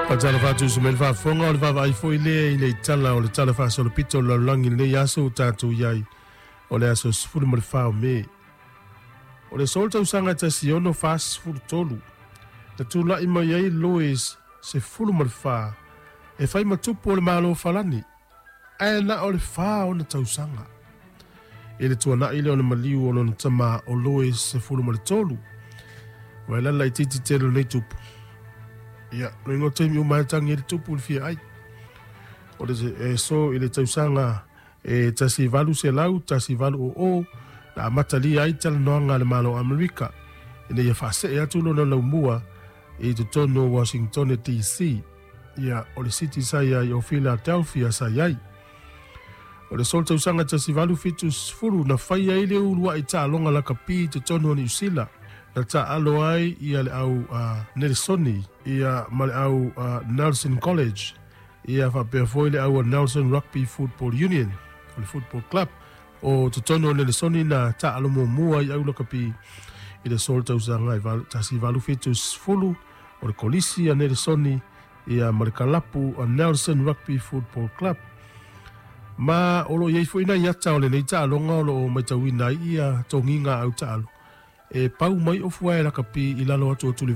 Faatalofa atu uso mai le faafofoga o le vaavaai foi lea i le itala o le Tala Faasolopito o le Lalolagi i lenei aso ua tatou i ai o le aso 14 o Me. O le aso o le tausaga e 1643, na tulai mai ai Louis XIV e fai ma tupu o le Malo o Falani, ae na o le 4 ona tausaga. I le tuanai lea o le maliu o lona tama o Louis XIII. Ua e lala laitiiti tele o lenei tupu. Ia, loiga o taimi uma e tagi ai le tupu i le fia ai. O le e so i le tausaga e 1800, 1800 na amatalia ai talanoaga a le Malo o Amerika ina ia faasee atu lona laumua i totonu o Washington DC. Ia, o le city sa i ai o Philadelphia sa i ai. O le aso o le tausaga 1870 na fai ai le uluai taaloga lakapi i totonu o Niu Sila na taaalo ai ia le au Nelesoni ia ma le au Nelson College ia faapea foi le au Nelson Rugby Football Union o le Football Club o totonu o Nelesoni na taaalo muamua ai au lakapi i le aso o le tausaga 1870 o le Kolisi a Nelesoni ia ma le kalapu a Nelson Rugby Football Club. Ma o lo o i ai foi nai ata o lenei taaloga o lo o matauina ai ia togiga au taalo e pau mai ofu ae lakapi i lalo atu o Tulivae.